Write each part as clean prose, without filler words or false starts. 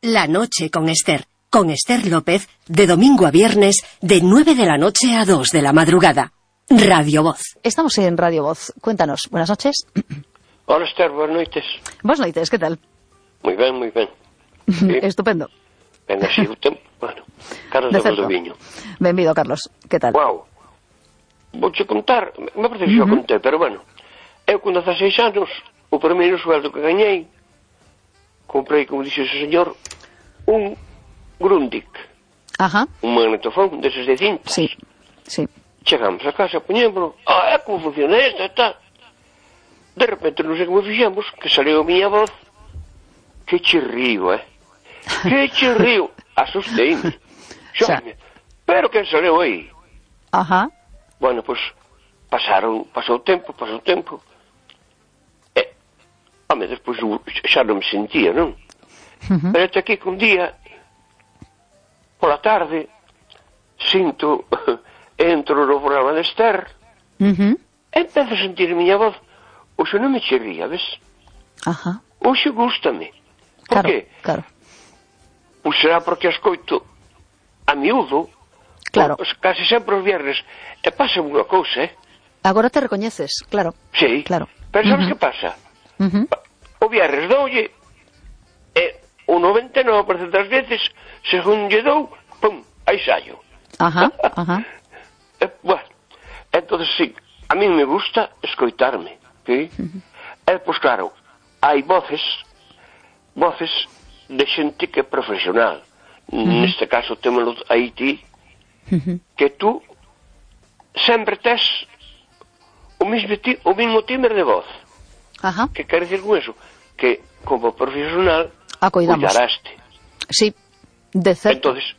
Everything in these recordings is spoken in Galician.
La noche con Esther López, de domingo a viernes, de 9 de la noche a 2 de la madrugada. Radio Voz. Estamos en Radio Voz. Cuéntanos. Buenas noches. Hola, Esther, buenas noites. Buenas noites, ¿qué tal? Moi ben, moi ben. Sí. Estupendo. Ben, así o tempo. Bueno, Carlos de Valdoviño. Benvido, Carlos. ¿Qué tal? Guau. Vouche contar, me parece que xa contei, pero bueno, eu con 16 anos, o primeiro sueldo que gañei, comprei, como dixe o señor, un Grundig. Ajá. Un magnetofón deses de cintas. Sí, sí. Chegamos a casa, poñémoslo, é como funciona esta e tal. De repente, non sei como fixemos, que saliu a miña voz, que chirrío, que chirrío. Asusteime. Xome, pero que saliu aí? Ajá. Bueno, pois, pasou o tempo, home, despois xa non me sentía, non? Pero até aquí que un día, pola tarde, sinto, entro no programa de Esther, empezo a sentir a miña voz, oxe non me chirría, ves? Ajá. Oxe gústame. Por qué? Claro. Ou será porque escoito a miúdo, claro. Case sempre os viernes, e pasa unha cousa, Agora te recoñeces, claro. Sí, claro. Pero sabes que pasa? O viernes doulle, e o 99% das veces, según lle dou, pum, aí saio. Ajá. Bueno, entonces sí, a mí me gusta escoitarme, ¿sí? Pois claro, hai voces de xente que é profesional. Neste caso témolo aí ti, que tú sempre tes o mismo timbre de voz. Ajá. Que quere decir con eso? Que como profesional cuidaraste. Sí, de certo. Entonces,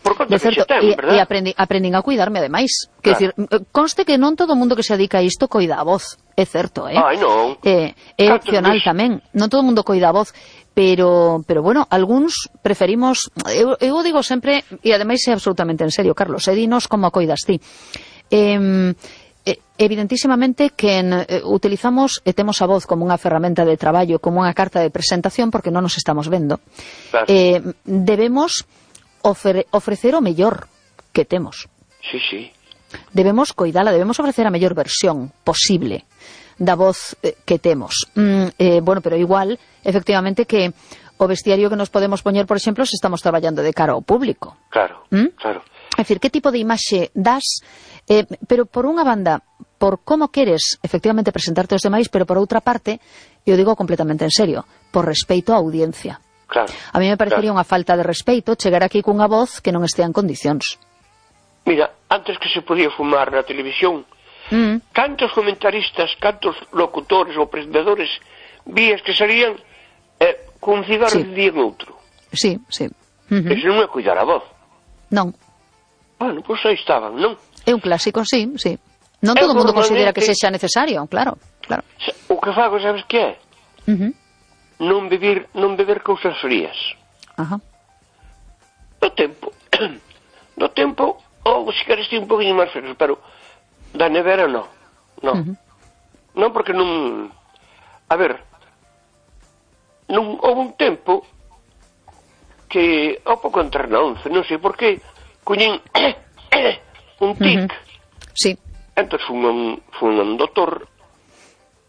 por conta que xe ten, verdad? E aprendín a cuidarme, ademais. Quer decir, conste que non todo o mundo que se dedica a isto coida a voz, é certo, Ai, non. É opcional tamén. Non todo o mundo coida a voz, pero bueno, algúns preferimos, eu digo sempre, e ademais é absolutamente en serio, Carlos, dinos como a coidas ti. Evidentísimamente que utilizamos e temos a voz como unha ferramenta de traballo, como unha carta de presentación, porque non nos estamos vendo. Claro. Debemos ofrecer o mellor que temos. Sí. Debemos coidala, debemos ofrecer a mellor versión posible da voz que temos. Bueno, pero igual, efectivamente, que o vestiario que nos podemos poñer, por exemplo, se estamos traballando de cara ao público. Claro, claro. É dicir, que tipo de imaxe das, pero por unha banda, por como queres efectivamente presentarte aos demais, pero por outra parte, eu digo completamente en serio, por respeito á audiencia. Claro. A mí me parecería unha falta de respeito chegar aquí cunha voz que non estea en condicións. Mira, antes que se podía fumar na televisión, cantos comentaristas, cantos locutores ou presentadores vías que salían cun cigarro de día en outro. Sí. Eso non é cuidar a voz. Non. Bueno, pois aí estaban, non? É un clásico, sí. Non todo o mundo considera que sexa necesario, claro. O que fago, sabes que é? Non beber cousas frías. Ajá. Do tempo, ou se queres ti un poquinho máis fríos, pero da nevera non. Non, porque non... A ver, non houve un tempo que, ao pouco entrar na 11, non sei por que, coñín un tic. Sí. Entón fun un doutor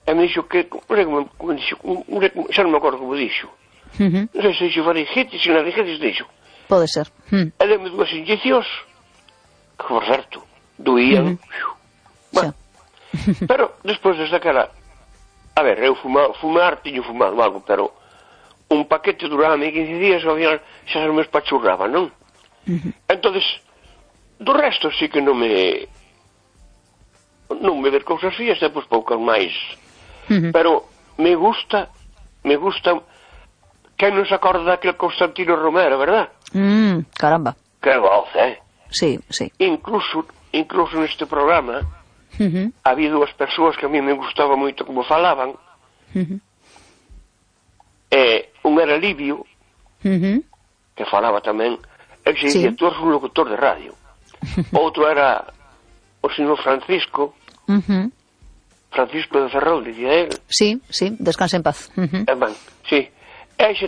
e me dixo que, xa non me acordo como dixo. Non sei se dixo faringitis, se laringitis dixo. Pode ser. E deme dúas inyeccións que, por certo, doían. Bueno, pero despois desde aquela, a ver, eu fumar tiño fumado algo, pero un paquete duraba-me 15 días e ao final xa se me espachurraba, non? Entonces, do resto sí que non me ver cousas frías, depois poucas máis. Pero me gusta que non se acorda daquele Constantino Romero, verdad? Caramba. Que voz, Sí. Incluso neste programa había dúas persoas que a mí me gustaba moito como falaban. Un era Livio, que falaba tamén, el se dicía, tú eres un locutor de radio. Outro era o señor Francisco de Ferrol, dicía él. Sí, descanse en paz. Sí. E hai xente